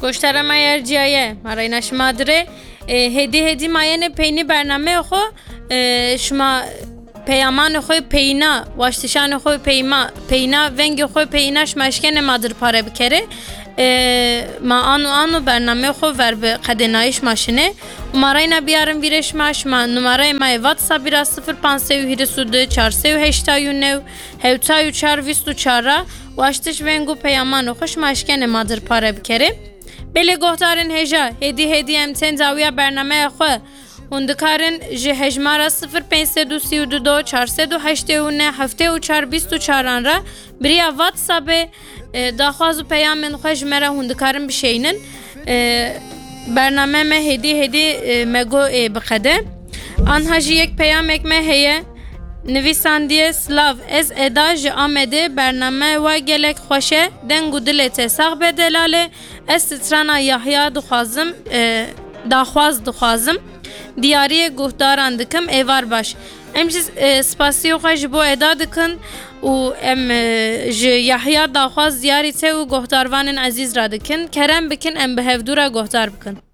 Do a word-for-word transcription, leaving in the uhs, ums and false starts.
Goştara me yer ciyaye, ma reyna şima dire. E, hêdî hêdî ma yenê peynî bernameya xwe, e, şima peyamanê xwe peyna, waştişanê xwe peyma, peyna, vengê xwe peyna şima eşkene ma dir pare bikere. E, ma ano ano bernameyê xwe ver bi qedênayîş ma şine. Û ma reyna biyarin vîrê şima, şima numareyê ma yê WhatsAppî ra sifir panc sey û hîris û du, çar sey û heştay û new, hewtay û çar, vîst û çar ra waştiş veng û peyamanê xwe şima eşkene ma dir pare bikere. Belê guhdarên hêja, hêdî hêdî em tên dawiya bernameya xwe. Hûn dikarin ji hejmara sifir pênc sed û sî û du, çar sed û heştê û neh, heftê û çar, bîst û çaran re bi riya WhatsAppê, e, daxwaz û peyamên xwe ji me re hûn dikarin bişeynin. E, bername me hêdî hêdî, e, me got ê biqede. Anha jî yek peyamek me heye. Nivîsandiye, Silav, ez Eda ji Amedê, bername we gelek xweş e, deng û dilê te sax be delale. Ez strana Yahya dixwazim, e, daxwaz dixwazim. Diyariyê guhdaran dikim, êvar baş. Em jî, e, spasiyê xwe ji bo Eda dikin û em, e, ji Yahya daxwaz diyarî te û guhdarvanên ezîz re dikin. Kerem bikin, em bi hevdû re guhdar bikin.